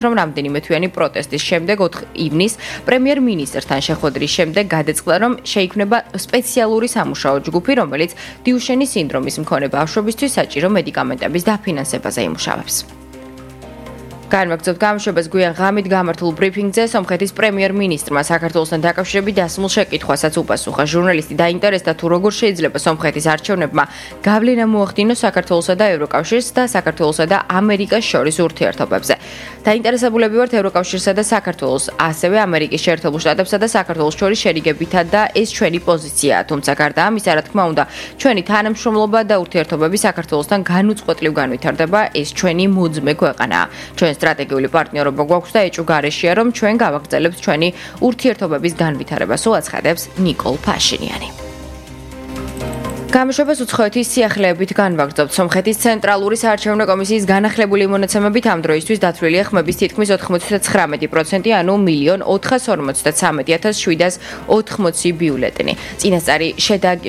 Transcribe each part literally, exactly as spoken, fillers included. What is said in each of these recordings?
რომ რამდენიმე თვიანი პროტესტის შემდეგ ოთხ ივნისს პრემიერ-მინისტრთან შეხვედრის შემდეგ გადაწყდა, რომ შეიქმნება სპეციალური სამუშაო ჯგუფი, რომელიც დიუშენის სინდრომის მქონე ბავშვებისთვის საჭირო მედიკამენტების დაფინანსებაზე იმუშავებს. განვაგრძობთ გამოშვებას გვიან ღამით გამართულ ბრიფინგზე სომხეთის პრემიერ-მინისტრმა საქართველოსთან დაკავშირებით დასმულ შეკითხვასაც უპასუხა. ჟურნალისტი დაინტერესდა თუ როგორ შეიძლება სომხეთის არჩევნებმა გავლენა მოახდინოს საქართველოსა და ევროკავშირს და საქართველოსა და ამერიკას შორის ურთიერთობებზე. დაინტერესებულები ვართ ევროკავშირსა და საქართველოს, ასევე ამერიკის შეერთებულ შტატებსა და საქართველოს შორის შერიგებითა და ეს ჩვენი პოზიციაა. თუმცა გარდა ამისა, რა თქმა უნდა, ჩვენი თანამშრომლობა და ურთიერთობები საქართველოსთან განუწყვეტლივ განვითარდება, ეს ჩვენი მოძმე ქვეყანაა. ჩვენ სტრატეგიული პარტნიორობა გვაქვს და ეჭვ გარეშეა, რომ ჩვენ გავაგრძელებთ ჩვენი ურთიერთობების განვითარებას, უაცხადებს ნიკოლ ფაშინიანი. გამოშვებას უცხოეთის სიახლეებით განვაგრძობთ. სომხეთის ცენტრალური საარჩევნო კომისიის განახლებული მონაცემებით ამ დროისთვის დათვლილია ხმების თითქმის ოთხმოცდათხრამეტი პროცენტი, ანუ მილიონ ოთხასორმოცდათსამეტი ათას შვიდას ოთხმოცი ბიულეტენი. წინასწარი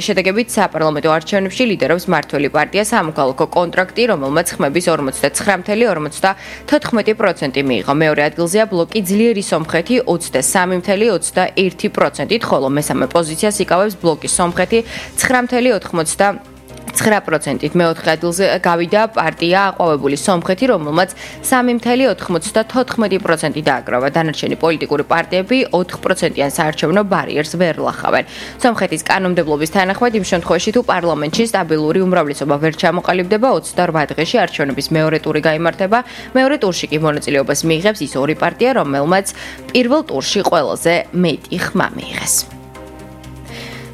შედეგებით საპარლამენტო არჩევნებში ლიდერობს მმართველი პარტია სამოქალაქო კონტრაქტი, რომელმაც ხმების ორმოცდათცხრა წუთი ორმოცდათოთხმეტი პროცენტი მიიღო. მეორე ადგილზეა ბლოკი ძლიერი სომხეთი ოცდასამი წუთი ოცდაერთი პროცენტით, ხოლო მესამე პოზიციას იკავებს ბლოკი სომხეთი ცხრა წუთი ოთხმოცდაცხრა პროცენტით. მეოთხე ადგილზე გავიდა პარტია აყვავებული სომხეთი, რომელმაც სამი წუთი ოთხმოცდათოთხმეტი პროცენტი დააგროვა. დანარჩენი პოლიტიკური პარტიები ოთხ პროცენტიან საარჩევნო ბარიერს ვერ ლახავენ. სომხეთის კანონმდებლობის თანახმად, იმ შემთხვევაში თუ პარლამენტში სტაბილური უმრავლესობა ვერ ჩამოყალიბდება, ოცდარვა დღეში არჩევნების მეორე ტური გაიმართება. მეორე ტურში კი მონაწილეობას მიიღებს ის ორი პარტია, რომელმაც პირველ ტურში ყველაზე მეტი ხმა მიიღეს.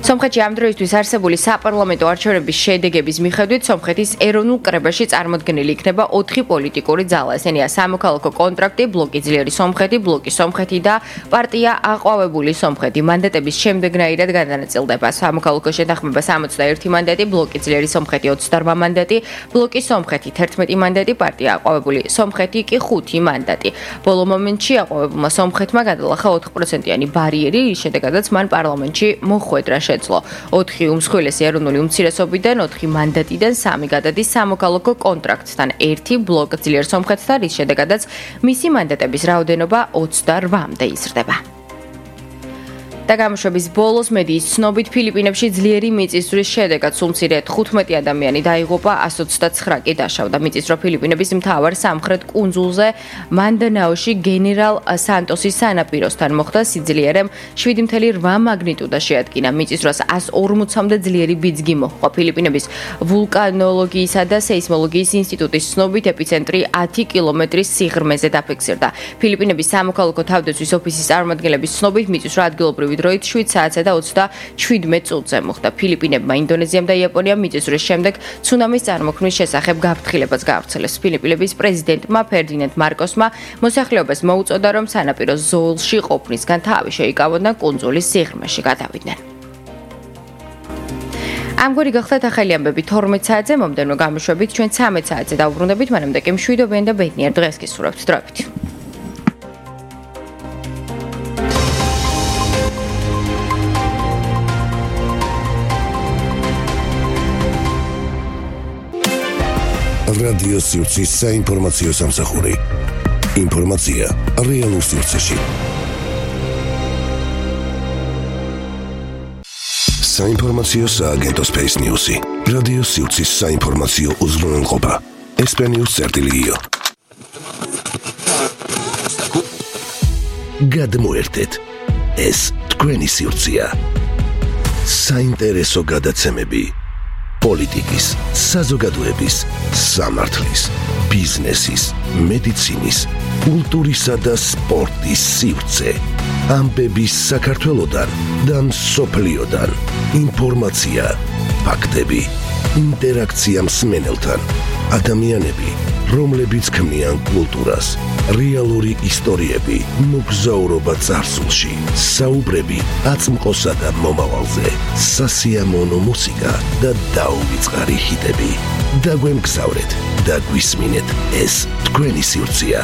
სომხეთში ამ დროისთვის არსებული საპარლამენტო არჩევნების შედეგების მიხედვით სომხეთის ეროვნულ კრებაში წარმოდგენილი იქნება ოთხი პოლიტიკური ძალა. ესენია სამოქალაქო კონტრაქტი, ბლოკი ძლიერი სომხეთი, ბლოკი სომხეთი და პარტია აყვავებული სომხეთი. მანდატების შემდეგნაირად გადანაწილდება: სამოქალაქო შეთანხმება სამოცდაერთი მანდატი, ბლოკი ძლიერი სომხეთი ოცდარვა მანდატი, ბლოკი სომხეთი თერთმეტი მანდატი, პარტია აყვავებული სომხეთი კი ხუთი მანდატი. ბოლო მომენტში აყვავებულმა სომხეთმა გადალახა ოთხ პროცენტიანი ბარიერი, რის შედეგადაც მან პარლამენტში მოხვედრა შეძლო. ოთხი უმსხვილესი ეროვნული უმცირესობიდან, ოთხი მანდატიდან, სამი გადადის სამოქალაქო კონტრაქტთან, ერთი ბლოკ ძლიერ სომხეთთან, რის შედეგადაც მისი მანდატების რაოდენობა ოცდარვამდე იზრდება. და გამოშვების ბოლოს მედიის ცნობით ფილიპინებში ძლიერი მიწისძვრის შედეგად სულ მცირე თხუთმეტი ადამიანი დაიღუპა, ასი ოცდაცხრა კი დაშავდა. მიწისძვრა ფილიპინების მთავარ სამხრეთ კუნძულზე მანდანაოში გენერალ სანტოსის სანაპიროსთან მოხდა. სიძლიერემ შვიდი წუთი რვა მაგნიტუდა შეადგინა. მიწისძვრას ასი ორმოცამდე ძლიერი ბიძგი მოჰყვა. ფილიპინების ვულკანოლოგიისა და სეისმოლოგიის ინსტიტუტის ცნობით ეპიცენტრი ათი კილომეტრის სიღრმეზე დაფიქსირდა. ფილიპინების სამოქალაქო თავდაცვის ოფისის წარმომადგენლების ცნობით მიწისძვრა ადგილობრივი დროით შვიდ საათსა და ოცდაშვიდ წუთზე მოხდა. ფილიპინებმა, ინდონეზიამ და იაპონიამ მიწისძვრის შემდეგ ცუნამის წარმოქმნის შესახებ გაფრთხილებას გაავრცელეს. ფილიპინების პრეზიდენტმა ფერდინანდ მარკოსმა მოსახლეობას მოუწოდა, რომ სანაპირო ზოლში ყოფნისგან თავი შეიკავონ და კუნძულის სიღრმეში გადავიდნენ. ამგვარი გახდათ ახალი ამბები თორმეტ საათზე, მომდევნო გამოშვებით ჩვენ ცამეტ საათზე დავუბრუნდებით, მანამდე კი მშვიდობიან და ბედნიერ დღეს გისურვებთ. დროებით. რადიო სივრცის საინფორმაციო სამსახური. ინფორმაცია რეალურ სივრცეში. საინფორმაციო სააგენტო Space News-ი. რადიო სივრცის საინფორმაციო უზრუნველყოფა. ესპანიურ წერტილიო. გადმოერთეთ. ეს თქვენი სივრცეა. საინტერესო გადაცემები. პოლიტიკის, საზოგადოების, სამართლის, ბიზნესის, მედიცინის, კულტურისა და სპორტის სივრცე. ამბების საქართველოდან და მსოფლიოდან. ინფორმაცია, ფაქტები, ინტერაქცია მსმენელთან. ადამიანები, რომლებიც ქმნიან კულტურას. რეალური ისტორიები, მოგზაურობა წარსულში, საუბრები აწმყოსა და მომავალზე, სასიამოვნო მუსიკა და დაუვიწყარი ჰიტები. დაგვემგზავრეთ და გვისმინეთ, ეს თქვენი სივრცეა.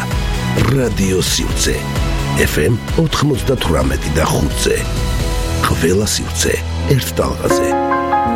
რადიო სივრცე. ეფ ემ ოთხმოცდათვრამეტი და ხუთზე. ყველა სივრცე ერთ ტალღაზე.